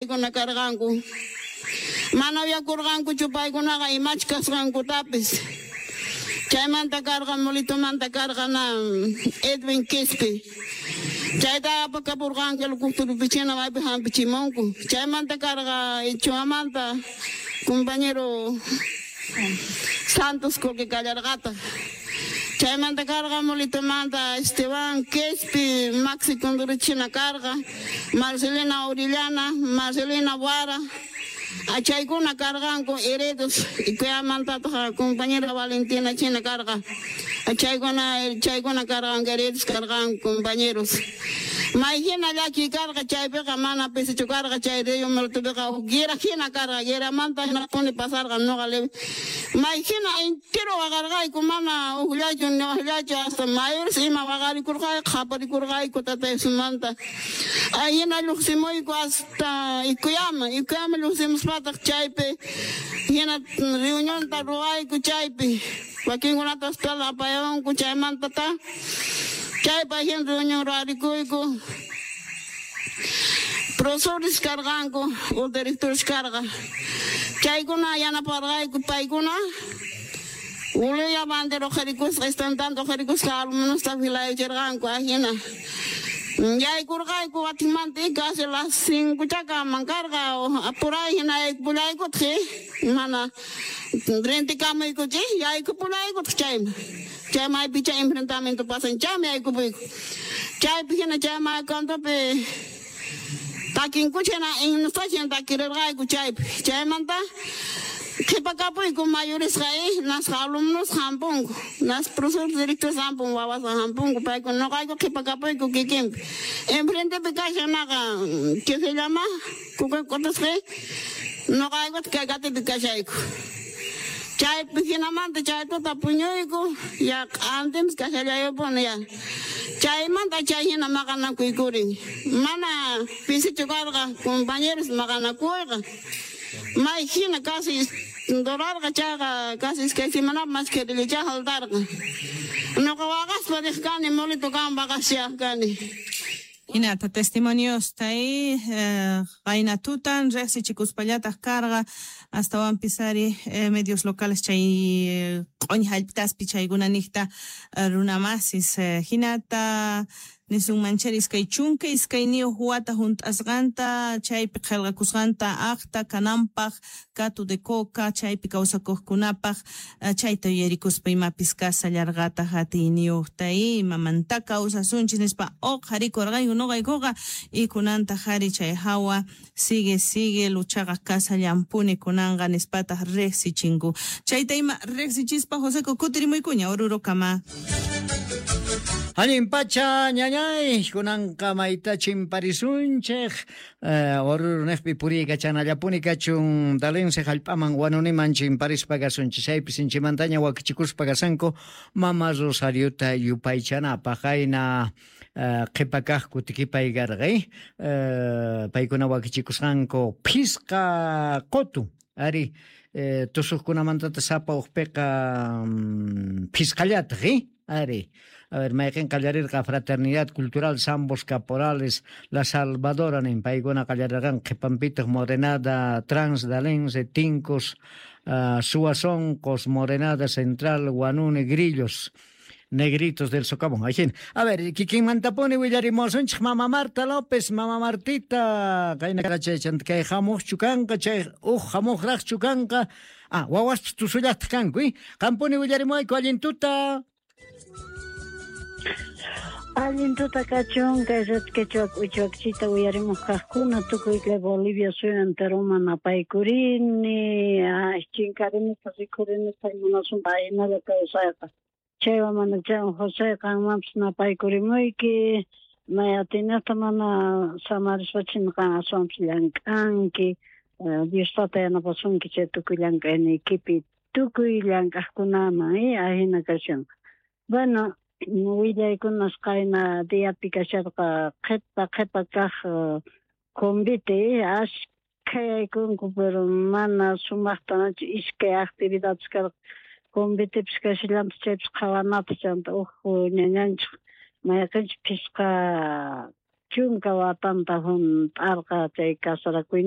Chaykuna karqanku. Mana uyakurqankuchu paykunaqa imach kasqankutapis. Chaymanta karqa Molitomanta karqa na Edwin Quispe. Chayta apakapurqanku helicópteropi maypi hampichimunku. Chaymanta karqa Ichuamanta compañero Santos Coque kallarqataq. Chaymanta karqa Molitomanta Esteban Quispe, Maxi Condorichina karqa, Marcelina Orellana, Marcelina Guara. Chaykuna karqanku heredos Icuyamantataq compañera Valentina China karqa. Chaykuna karqanku heredos karqanku compañeros. May hina llakiy karqa chaypiqa mana pisichu karqa chay río Molitopiqa huk guerra hina karqa, guerramanta hinapuni pasarqa noqa may hina entero waqarqayku mana hukllachu ni waqllachu hasta mayores ima waqarikurqayku qhaparikurqayku tataysumanta. Hina lluqsimuyku hasta Icuyaman, Icuyaman lluqsimuspataq chaypi hina reunionta ruwayku chaypi wakinkunata hospital apayanku chaymantata chaypa hina reunión ruwarikuyku. Profesores karqanku o directores karqa. Chaykuna yanaparqayku paykuna Uluya bandera uqharikusqa estandarte uqharikusqa alumnosta filayachirqanku ajina. Yaykurqayku watinmanta casi las 5 chakaman karqa apuray hina yaykupullaykutaj mana rentikamuykuchik yaykupullaykutaj chayman. Chay maypi chay enfrentamiento pasan chaymi yaykupuyku. Chaypi hina chay maykantopi takinkucha hina himnosta hina takirirqayku chaypi. Chaymanta qhipakapuyku mayoresqa nasqa alumnos hampunku, nas profesores directores hampun wawasqa hampunku paykuna noqayku qhipakapuyku kikinpi. Enfrentepi kashan naqa ¿qué se llama? Kukakutasqa noqaykuta kay katipi kashayku. Chaypi hinamanta chay tuta puñuyku ya q'antinpis kashallayupuni ya. Chaymanta chay hina maqanakuykurin. Mana pisichu karqa compañeros maqanakuyqa. May hina casi durarqa chayqa casi iskay semanapaq mas querillachá haltarqa. Noqa waqaspa riq kani Molito kama waqashaq kani. Hinata testimoniosta qayna tutan riqsichikuspallataq karqa astawanpis ari medios locales chay q'uñi hallp'ataspi chaykuna niqta runamasis hinata nisunman chari 22 wata hunt'asqanta chaypi qillqakusqanta aqta kananpaq Catu de Coca chaypi kawsakuqkunapaq chayta yuyarikuspa imapis kasallarqataq atiyniyuqta imamanta kawsasunchis nispa uqharikurqayku nuqaykuqa y kunantaq ari chay hawa sigue sigue luchaqa kasallampuni kunanqa nispataq riqsichinku chayta ima riqsichispa Joseco kutirimuykuña Orurokama. Allin pacha ñañay kunanqa mayta chimparisunchik Oruro niqpi puriykachanallapuni kachun Dalense hallp'aman wanuniman chimparispa kasunchik chaypi sinchimantaña wakichikuspa kasanku mama Rosariota yupaychanapaq qayna qhipa kaq kutikipay karqa paykuna wakichikusqanku phisqa qutu ari tusuqkunamantata sapa uqpiqa phisqallataq ari. A ver, mayqin qallarirqa Fraternidad Cultural Zambos Caporales La Salvadora nin paykuna qallarirqan qhipanpitaq Morenada Transdalense Tincos Suazonqos Morenada Central Guanune Grillos Negritos del Socavón. Ahí. A ver, kikinmantapuni willarimusunchik Mama Marta López, Mama Martita, kayna chaychanta kay hamuqchu kanqa, chay uj hamuqraqchu kanqa. Ah, wawaspis tusullaqtaq kanku, qampuni willarimuwayku allin tuta. Allin tuta kachun kay red quechua k'uchuakchita uyarimuq kaqkuna tukuy kay Bolivia suyu enteroman apaykurini, chinkarinita rikhurinita munasunta ahinalla kawsayqa. Chaywan mana chaywan José qanmanpis napaykurimuyki, may atinata mana samarispacha qan aswanpis llank'anki, Dios tata yanapasunki chay tukuy llank'ayniykipi tukuy llank'aqkunaman ahina kashan. Bueno, willaykunas qayna diapi kasharqa qhipa kaq convite ashkha yaykunku pero mana sumaqtanachu iskay actividades karqa convitepis kashallanpis chaypis qhawanapis chanta uj ñañanchik mayqinchik 50 watanta hunt'arqa chay casarakuynin.